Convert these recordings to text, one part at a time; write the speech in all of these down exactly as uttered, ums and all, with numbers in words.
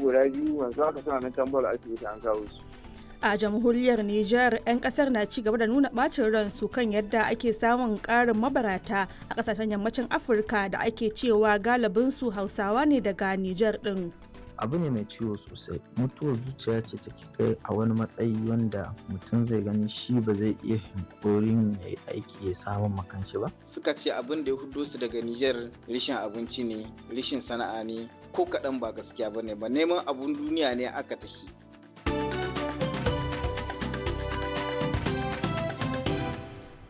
Guda biyu yanzu haka suna nan tambar asibiti an kawo su. A jamhuriyar Nijar, 'yan kasar na ci gaba da nuna bacin ransu kan yadda ake samun karin mabarata a kasashen yammacin Afirka da ake cewa galibinsu Hausawa ne daga Nijar din. Abu ne mai ciwo sosai. Mutuwar zuciya ce take kai a wani matsayi wanda mutum zai gani shi ba zai iya hankorin ya yi aiki ya samun makanshi ba. Suka ce abin da ya hudo su daga Nijar rishin abinci ne, rishin sana'a ne, ko kaɗan ba gaskiya ba ne ba, neman abun duniya ne aka tafi.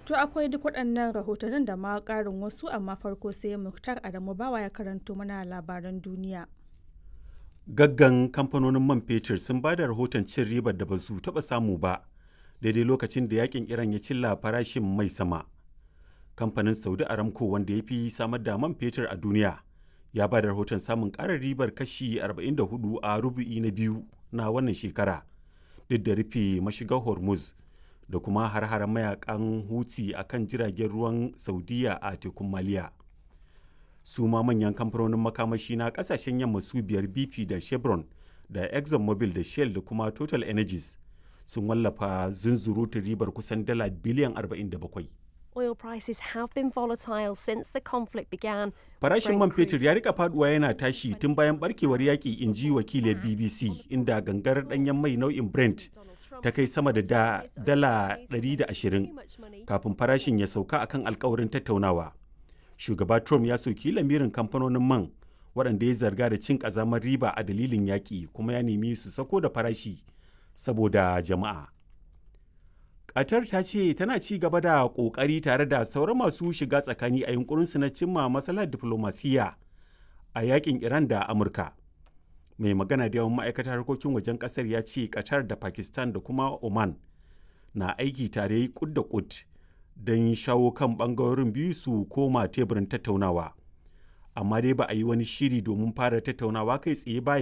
To akwai duk waɗannan rahotannin da ma ƙarin wasu, amma farko sai Muktar Adamu Bawa ya karanto mana labaran duniya. Gaggan kamfanonin man fetur sun ba da rahoton cin ribar da ba su taɓa samu ba daidai lokacin da yakin Iran ya cilla farashin mai sama. Kamfanin Saudi Aramco, wanda ya fi samar da man fetur a duniya, ya ba da rahoton samun ƙarin ribar kashi arba'in da huɗu a rubu'i na biyu na wannan shekara, duk da rufe mashigar Hormuz da kuma har-haren mayakan Huti a kan jiragen ruwan Saudiya a tekun Maliya. Su ma manyan kamfanonin makamashi na kasashen yamma su biyar, B P da Chevron da ExxonMobil da Shell da kuma Total Energies, sun wallafa zunzurutun ribar kusan dala biliyan arba'in da bakwai. Oil prices have been volatile since the conflict began. Farashin man fetur ya rika faduwa yana tashi tun bayan barkewar yaƙi, in ji wakilin B B C, inda gangar danyen mai nau'in Brent ta kai sama da dala ɗari da ashirin kafin farashin ya sauka akan alkawarin tattaunawa. Shugaba Trump ya soki lamirin kamfanonin man waɗanda ya zarga da cin ƙazamar riba a dalilin yaƙi, kuma ya nemi su sako da farashi saboda jama'a. Qatar ta ce tana ci gaba da ƙoƙari tare da sauran masu shiga tsakani a yunkurinsu na cimma matsalar diflomasiyya a yakin Iran da Amurka. Mai magana da yawan ma'aikatar harkokin wajen ƙasar ya ce Qatar da Pakistan da kuma Oman na aiki tare kud da kud don shawo kan bangarorin biyu su koma teburin tattaunawa. Amma dai ba a yi wani shiri domin fara tattaunawa kai tsaye ba.